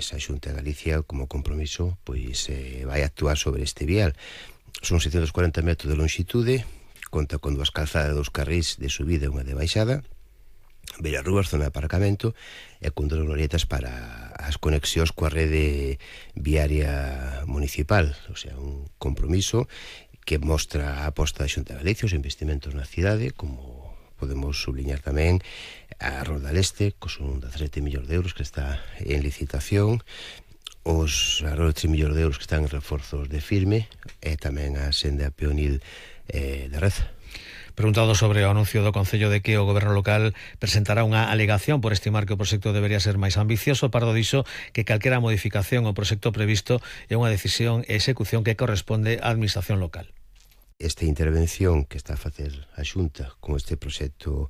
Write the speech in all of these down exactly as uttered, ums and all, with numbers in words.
pois a Xunta de Galicia, como compromiso, pois eh, vai actuar sobre este vial. Son seiscentos cuarenta metros de longitude, conta con dúas calzadas, dous carrís de subida e unha de baixada, beirarrúas, zona de aparcamento e con dúas glorietas para as conexións coa rede viaria municipal. O sea, un compromiso que mostra a aposta da Xunta de Galicia, os investimentos na cidade, como podemos subliñar tamén a Roda Leste, que son dezasete millóns de euros que está en licitación, os arredor de tres millóns de euros que están en reforzos de firme, e tamén a senda peonil eh, de Reza. Preguntado sobre o anuncio do Concello de que o Goberno local presentará unha alegación por estimar que o proxecto debería ser máis ambicioso, Pardo dixo que calquera modificación ao proxecto previsto é unha decisión e execución que corresponde á Administración local. Esta intervención que está a facer a Xunta con este proxecto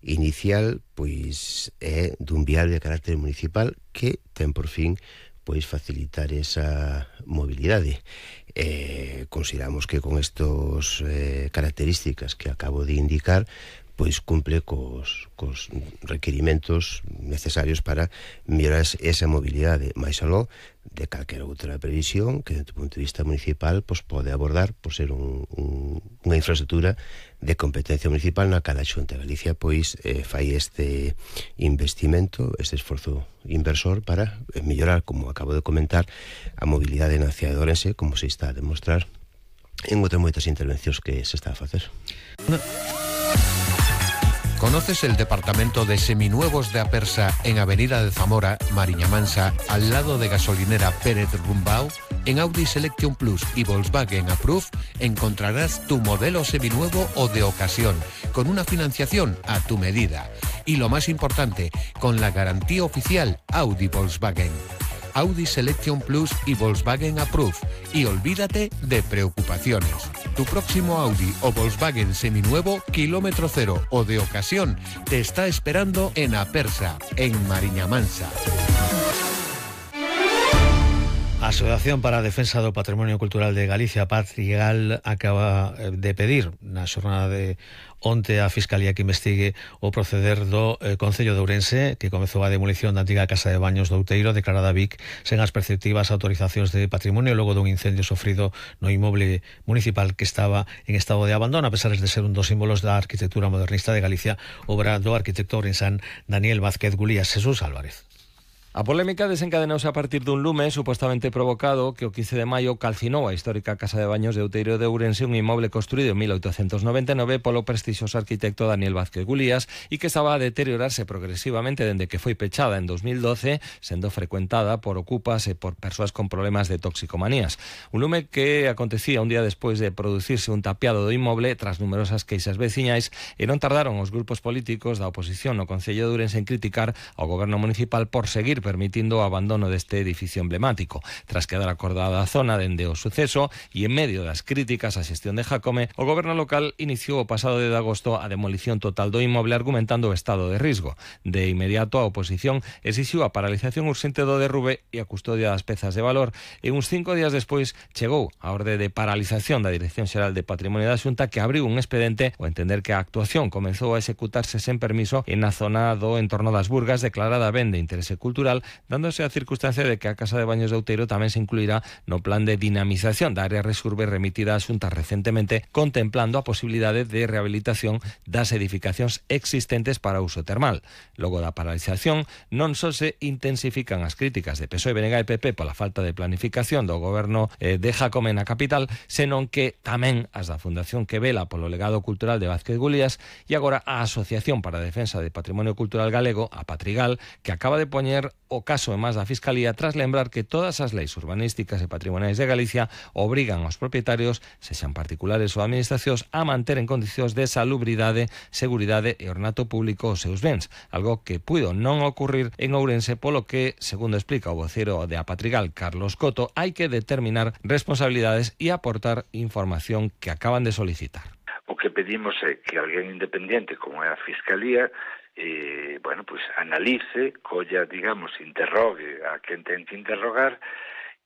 inicial, pois é dun vial de carácter municipal que ten por fin pois facilitar esa mobilidade. Eh, consideramos que con estas eh, características que acabo de indicar, pois cumple cos, cos requerimentos necesarios para mellorar esa mobilidade, máis aló de calquera outra previsión que, desde o punto de vista municipal, pois pode abordar por ser un, un, unha infraestructura de competencia municipal na que a Xunta de Galicia pois eh, fai este investimento, este esforzo inversor para mellorar, como acabo de comentar, a mobilidade na cidade de Ourense, como se está a demostrar en outras moitas intervencións que se está a facer. No. ¿Conoces el departamento de seminuevos de Apersa en Avenida de Zamora, Mariña Mansa, al lado de gasolinera Pérez Rumbao? En Audi Selection Plus y Volkswagen Approve encontrarás tu modelo seminuevo o de ocasión, con una financiación a tu medida. Y lo más importante, con la garantía oficial Audi Volkswagen. Audi Selection Plus y Volkswagen Approve. Y olvídate de preocupaciones. Tu próximo Audi o Volkswagen seminuevo, kilómetro cero o de ocasión, te está esperando en Apersa, en Mariña Mansa. A Asociación para a Defensa do Patrimonio Cultural de Galicia, Patrigal, acaba de pedir na xornada de onte a Fiscalía que investigue o proceder do eh, Concello de Ourense, que comezou a demolición da antiga casa de baños do Outeiro, declarada Vic, sen as perceptivas autorizacións de patrimonio, logo dun incendio sofrido no inmoble municipal que estaba en estado de abandono, a pesar de ser un dos símbolos da arquitectura modernista de Galicia, obra do arquitecto ourensán Daniel Vázquez Gulías. Jesús Álvarez. A polémica desencadenouse a partir dun lume supostamente provocado que o quince de maio calcinou a histórica casa de baños de Outeiro de Ourense, un inmoble construído en mil oitocentos noventa e nove polo prestixioso arquitecto Daniel Vázquez Gulías e que estaba a deteriorarse progresivamente dende que foi pechada en dos mil doce, sendo frecuentada por ocupas e por persoas con problemas de toxicomanías. Un lume que acontecía un día despois de producirse un tapiado do inmoble tras numerosas queixas veciñais, e non tardaron os grupos políticos da oposición no Concello de Ourense en criticar ao goberno municipal por seguir permitindo o abandono deste edificio emblemático. Tras quedar acordada a zona dende o suceso e en medio das críticas á xestión de Jácome, o goberno local iniciou o pasado de agosto a demolición total do inmoble argumentando o estado de risco. De inmediato a oposición exixiu a paralización urxente do derrube e a custodia das pezas de valor, e uns cinco días despois chegou a orde de paralización da Dirección Xeral de Patrimonio da Xunta, que abriu un expedente ao entender que a actuación comezou a executarse sen permiso en a zona do entorno das Burgas, declarada ben de interese cultural, dándose a circunstancia de que a Casa de Baños de Outeiro tamén se incluirá no plan de dinamización da área Resurbe remitida á Xunta recentemente, contemplando a posibilidade de rehabilitación das edificacións existentes para uso termal. Logo da paralización, non só se intensifican as críticas de P S O E, B N G e P P pola falta de planificación do goberno eh, de Jácome na capital, senón que tamén as da Fundación que vela polo legado cultural de Vázquez Gulías e agora a Asociación para a Defensa de Patrimonio Cultural Galego, a Patrigal, que acaba de poñer o caso en más da Fiscalía tras lembrar que todas as leis urbanísticas e patrimoniais de Galicia obrigan aos propietarios, sexan particulares ou administracións, a manter en condicións de salubridade, seguridade e ornato público os seus bens, algo que puido non ocurrir en Ourense, polo que, segundo explica o vocero de Apatrigal, Carlos Coto, hai que determinar responsabilidades e aportar información que acaban de solicitar. O que pedimos é que alguén independiente, como é a Fiscalía, eh, bueno, pues analice, colla, digamos, interrogue a quen ten que interrogar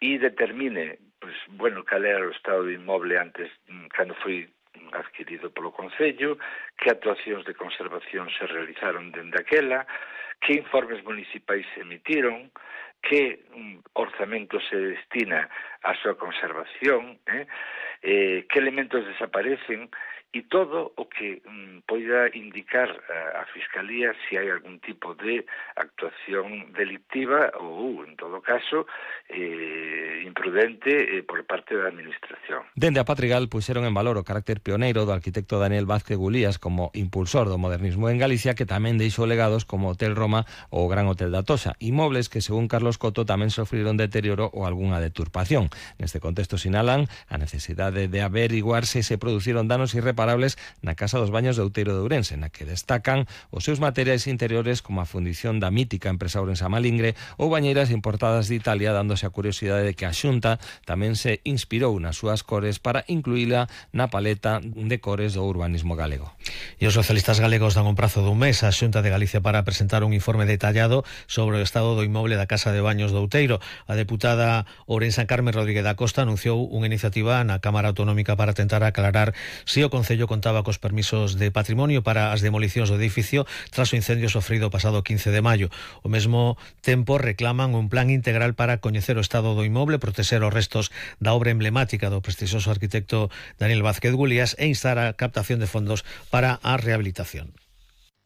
e determine, pues, bueno, cal era o estado do inmoble antes, cando foi adquirido polo Concello, que actuacións de conservación se realizaron dende aquela, que informes municipais se emitiron, que um, orzamento se destina á súa conservación, eh? Eh, que elementos desaparecen, e todo o que um, poida indicar a, a Fiscalía se hai algún tipo de actuación delictiva ou, en todo caso, eh, imprudente eh, por parte da Administración. Dende a Patrigal puxeron en valor o carácter pioneiro do arquitecto Daniel Vázquez Gulías como impulsor do modernismo en Galicia, que tamén deixou legados como Hotel Roma ou o Gran Hotel da Toxa, inmobles que, según Carlos Coto, tamén sofriron deterioro ou algunha deturpación. Neste contexto sinalan a necesidade de averiguar se se produciron danos irreparables na Casa dos Baños de Outeiro de Ourense, na que destacan os seus materiais interiores como a fundición da mítica empresa ourensa Malingre ou bañeiras importadas de Italia, dándose a curiosidade de que a Xunta tamén se inspirou nas súas cores para incluíla na paleta de cores do urbanismo galego. E os socialistas galegos dan un prazo dun mes á Xunta de Galicia para presentar un informe detallado sobre o estado do inmoble da Casa de Baños de Outeiro. A deputada ourensa Carmen Rodríguez da Costa anunciou unha iniciativa na Cámara Autonómica para tentar aclarar se o Concello contaba cos permisos de patrimonio para as demolicións do edificio tras o incendio sofrido o pasado quince de maio. Ao mesmo tempo reclaman un plan integral para coñecer o estado do inmoble, protexer os restos da obra emblemática do prestixioso arquitecto Daniel Vázquez Gulías e instar a captación de fondos para a rehabilitación.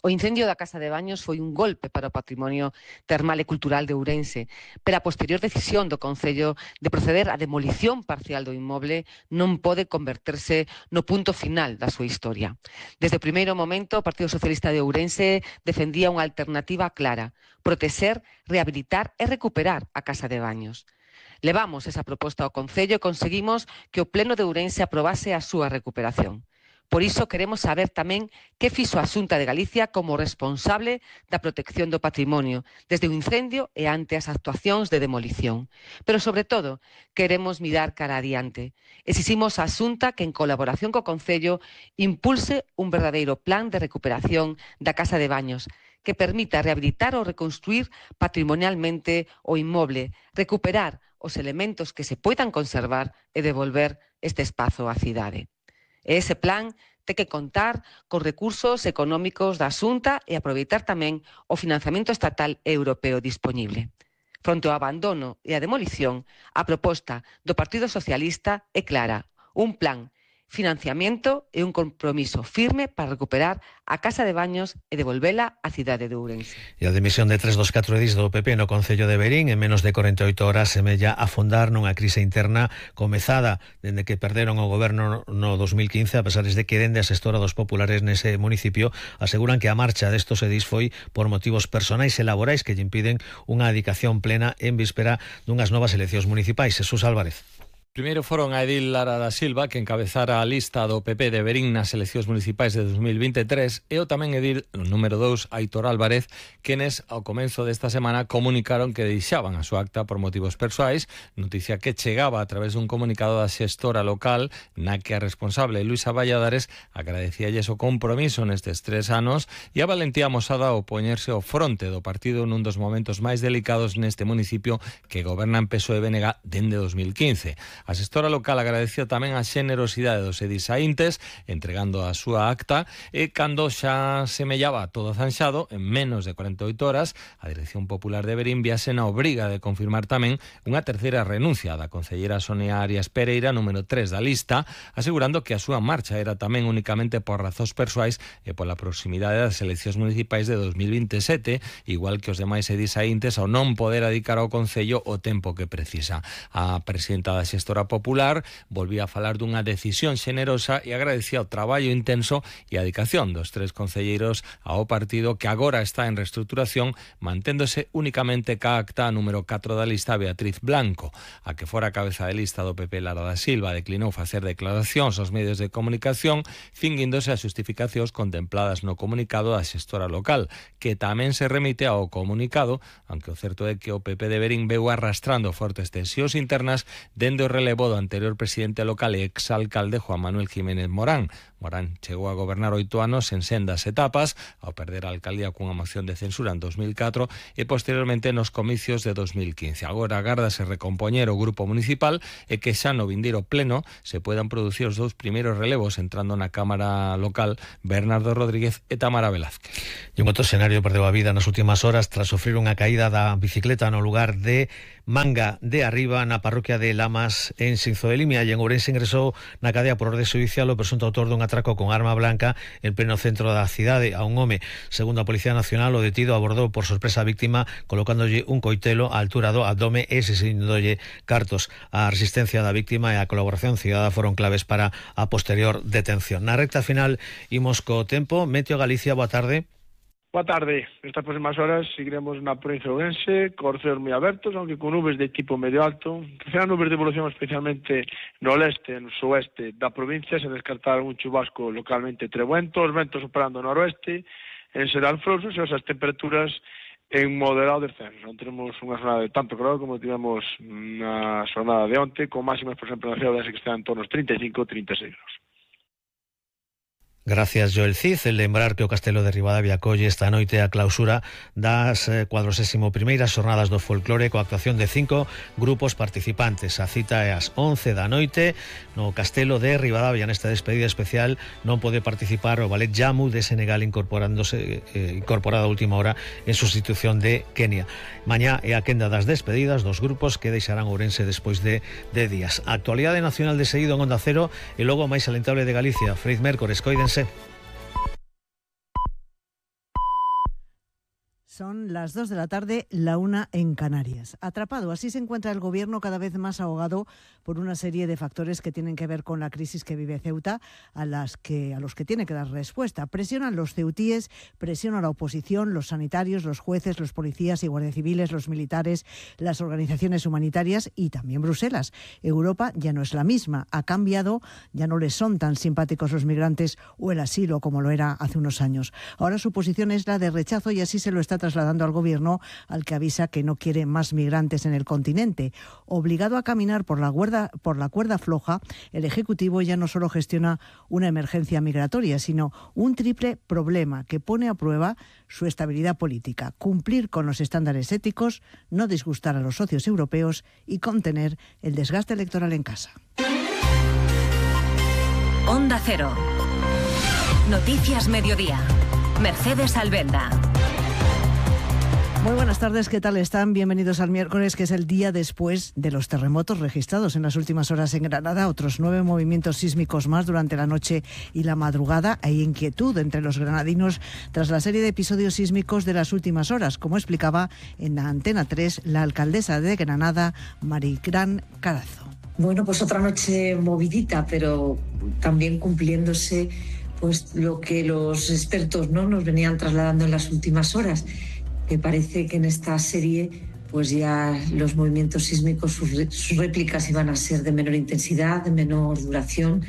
O incendio da Casa de Baños foi un golpe para o patrimonio termal e cultural de Ourense, pero a posterior decisión do Concello de proceder á demolición parcial do inmoble non pode converterse no punto final da súa historia. Desde o primeiro momento, o Partido Socialista de Ourense defendía unha alternativa clara: protexer, rehabilitar e recuperar a Casa de Baños. Levamos esa proposta ao Concello e conseguimos que o Pleno de Ourense aprobase a súa recuperación. Por iso queremos saber tamén que fixo a Xunta de Galicia como responsable da protección do patrimonio desde o incendio e ante as actuacións de demolición. Pero, sobre todo, queremos mirar cara adiante. Exiximos á Xunta que, en colaboración co Concello, impulse un verdadeiro plan de recuperación da Casa de Baños que permita rehabilitar ou reconstruir patrimonialmente o inmoble, recuperar os elementos que se poidan conservar e devolver este espazo á cidade. E ese plan ten que contar con recursos económicos da Xunta e aproveitar tamén o financiamento estatal e europeo dispoñible. Fronte ao abandono e a demolición, a proposta do Partido Socialista é clara: un plan, financiamento e un compromiso firme para recuperar a Casa de Baños e devolvela á cidade de Ourense. E a dimisión de tres dos catro edís do P P no Concello de Verín en menos de corenta e oito horas semella afondar nunha crise interna comezada dende que perderon o goberno no dos mil quince, a pesar de que dende a xestora dos populares nese municipio aseguran que a marcha destos edís foi por motivos personais e laborais que lle impiden unha dedicación plena en víspera dunhas novas eleccións municipais. Jesús Álvarez. Primeiro foron a Edil Lara da Silva, que encabezara a lista do P P de Verín nas eleccións municipais de dos mil vinte e tres, e o tamén Edil, no número dous, Aitor Álvarez, quenes ao comenzo desta semana comunicaron que deixaban a súa acta por motivos persoais, noticia que chegaba a través dun comunicado da xestora local, na que a responsable Luisa Valladares agradecíalles o compromiso nestes tres anos e a valentía amosada ao poñerse ao fronte do partido nun dos momentos máis delicados neste municipio que gobernan P S O E e B N G dende dos mil quince. A xestora local agradeceu tamén a xenerosidade dos edisaíntes entregando a súa acta e cando xa semellaba todo zanxado, en menos de corenta e oito horas, a Dirección Popular de Verín viase na obriga de confirmar tamén unha terceira renuncia da concelleira Sonia Arias Pereira, número tres da lista, asegurando que a súa marcha era tamén únicamente por razóns persoais e pola proximidade das eleccións municipais de dos mil vinte e sete, igual que os demais edisaíntes ao non poder dedicar ao Concello o tempo que precisa. A presidenta da xestora Popular volvía a falar dunha decisión xenerosa e agradecía o traballo intenso e a dedicación dos tres concelleiros ao partido que agora está en reestruturación, manténdose únicamente ca acta número catro da lista Beatriz Blanco. A que fora a cabeza de lista do P P Lara da Silva declinou facer declaracións aos medios de comunicación, cinguíndose as xustificacións contempladas no comunicado da xestora local, que tamén se remite ao comunicado, aunque o certo é que o P P de Verín veu arrastrando fortes tensións internas dende o relevo do anterior presidente local e exalcalde Juan Manuel Jiménez Morán. Morán chegou a gobernar oito anos en sendas etapas, ao perder a alcaldía cunha moción de censura en dos mil catro e posteriormente nos comicios de dos mil quince. Agora agárdase recompoñer o grupo municipal e que xa no vindeiro pleno se puedan producir os dous primeiros relevos entrando na Cámara local Bernardo Rodríguez e Tamara Velázquez. E un outro escenario perdeu a vida nas últimas horas tras sofrer unha caída da bicicleta no lugar de Manga de Arriba, na parroquia de Lamas, en Sinzo de Limia, e en Ourense ingresou na cadea por orde judicial o presunto autor dun atraco con arma blanca en pleno centro da cidade a un home. Segundo a Policía Nacional, o detido abordou por sorpresa a víctima colocándolle un coitelo á altura do abdome e asesíndolle cartos. A resistencia da víctima e a colaboración cidadá foron claves para a posterior detención. Na recta final imos co tempo. Meteo Galicia, boa tarde. Boa tarde. Estas próximas horas seguiremos na provincia de Ourense, con ceos moi abertos, aunque con nubes de tipo medio alto. Serán nubes de evolución especialmente no leste e no sueste da provincia, sen descartar un chubasco localmente trebuento, os ventos operando no noroeste, en xeral frouxos e as temperaturas en moderado descenso. Non tenemos unha jornada de tanto calor como tivemos na jornada de onte, con máximas, por exemplo, na cidade que están en torno aos treinta e cinco a treinta e seis graus. Gracias, Joel Cid. El lembrar que o Castelo de Ribadavia acolle esta noite a clausura das cuadragésimo primeiras xornadas do folclore coa actuación de cinco grupos participantes. A cita é ás once da noite no Castelo de Ribadavia. Nesta despedida especial non pode participar o Ballet Jamu de Senegal, incorporándose eh, incorporada a última hora en sustitución de Kenia. Mañá é a quenda das despedidas dos grupos que deixarán Ourense despois de, de días. A actualidade nacional de seguido en Onda Cero e logo máis alentable de Galicia. Freiz Mércores, coídense. Son las dos de la tarde, la una en Canarias. Atrapado, así se encuentra el gobierno, cada vez más ahogado por una serie de factores que tienen que ver con la crisis que vive Ceuta, a las que a los que tiene que dar respuesta. Presionan los ceutíes, presiona la oposición, los sanitarios, los jueces, los policías y guardias civiles, los militares, las organizaciones humanitarias y también Bruselas. Europa ya no es la misma, ha cambiado, ya no les son tan simpáticos los migrantes o el asilo como lo era hace unos años. Ahora su posición es la de rechazo y así se lo está trasladando al gobierno, al que avisa que no quiere más migrantes en el continente. Obligado a caminar por la cuerda, por la cuerda floja, el Ejecutivo ya no solo gestiona una emergencia migratoria, sino un triple problema que pone a prueba su estabilidad política: cumplir con los estándares éticos, no disgustar a los socios europeos y contener el desgaste electoral en casa. Onda Cero. Noticias Mediodía. Mercedes Albenda. Muy buenas tardes, ¿qué tal están? Bienvenidos al miércoles, que es el día después de los terremotos registrados en las últimas horas en Granada. Otros nueve movimientos sísmicos más durante la noche y la madrugada. Hay inquietud entre los granadinos tras la serie de episodios sísmicos de las últimas horas, como explicaba en la Antena tres la alcaldesa de Granada, Marigrán Carazo. Bueno, pues otra noche movidita, pero también cumpliéndose pues lo que los expertos, ¿no?, nos venían trasladando en las últimas horas, que parece que en esta serie pues ya los movimientos sísmicos, sus, sus réplicas iban a ser de menor intensidad, de menor duración,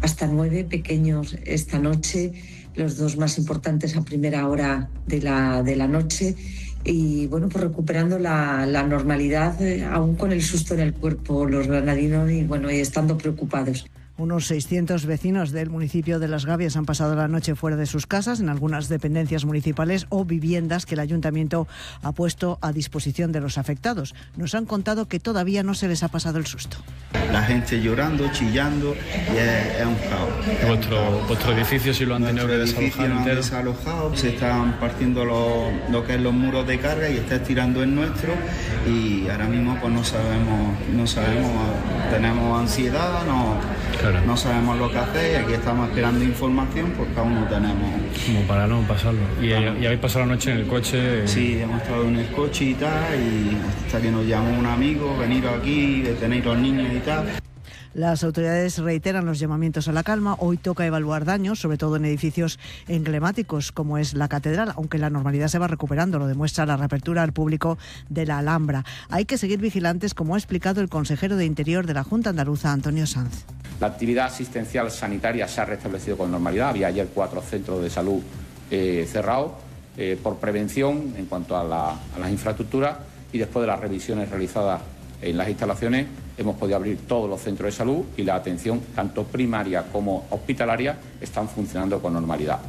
hasta nueve pequeños esta noche, los dos más importantes a primera hora de la, de la noche, y bueno, pues recuperando la, la normalidad, eh, aún con el susto en el cuerpo los granadinos y bueno, y estando preocupados. Unos seiscientos vecinos del municipio de Las Gavias han pasado la noche fuera de sus casas, en algunas dependencias municipales o viviendas que el ayuntamiento ha puesto a disposición de los afectados. Nos han contado que todavía no se les ha pasado el susto. La gente llorando, chillando, y es, es un caos. ¿Vuestro, vuestro edificio sí lo han tenido que desalojar entero? Desalojado, se están partiendo lo, lo que es los muros de carga y está estirando el nuestro, y ahora mismo pues no sabemos, no sabemos, tenemos ansiedad, no... Claro. No sabemos lo que hacer y aquí estamos esperando información porque aún no tenemos... Como para no pasarlo. ¿Y, ¿Y habéis pasado la noche en el coche? Sí, hemos estado en el coche y tal, y hasta que nos llamó un amigo, venir aquí, detener a los niños y tal. Las autoridades reiteran los llamamientos a la calma. Hoy toca evaluar daños, sobre todo en edificios emblemáticos como es la catedral, aunque la normalidad se va recuperando, lo demuestra la reapertura al público de la Alhambra. Hay que seguir vigilantes, como ha explicado el consejero de Interior de la Junta Andaluza, Antonio Sanz. La actividad asistencial sanitaria se ha restablecido con normalidad. Había ayer cuatro centros de salud eh, cerrados eh, por prevención en cuanto a, la, a las infraestructuras, y después de las revisiones realizadas En las instalaciones hemos podido abrir todos los centros de salud y la atención, tanto primaria como hospitalaria, están funcionando con normalidad.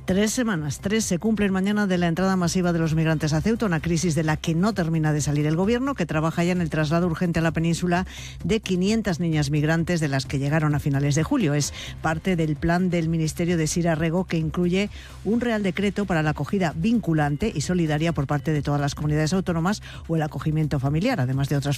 Tres semanas, tres se cumplen mañana de la entrada masiva de los migrantes a Ceuta, una crisis de la que no termina de salir el Gobierno, que trabaja ya en el traslado urgente a la península de quinientas niñas migrantes de las que llegaron a finales de julio. Es parte del plan del Ministerio de Sira Rego, que incluye un Real Decreto para la acogida vinculante y solidaria por parte de todas las comunidades autónomas o el acogimiento familiar, además de otras formas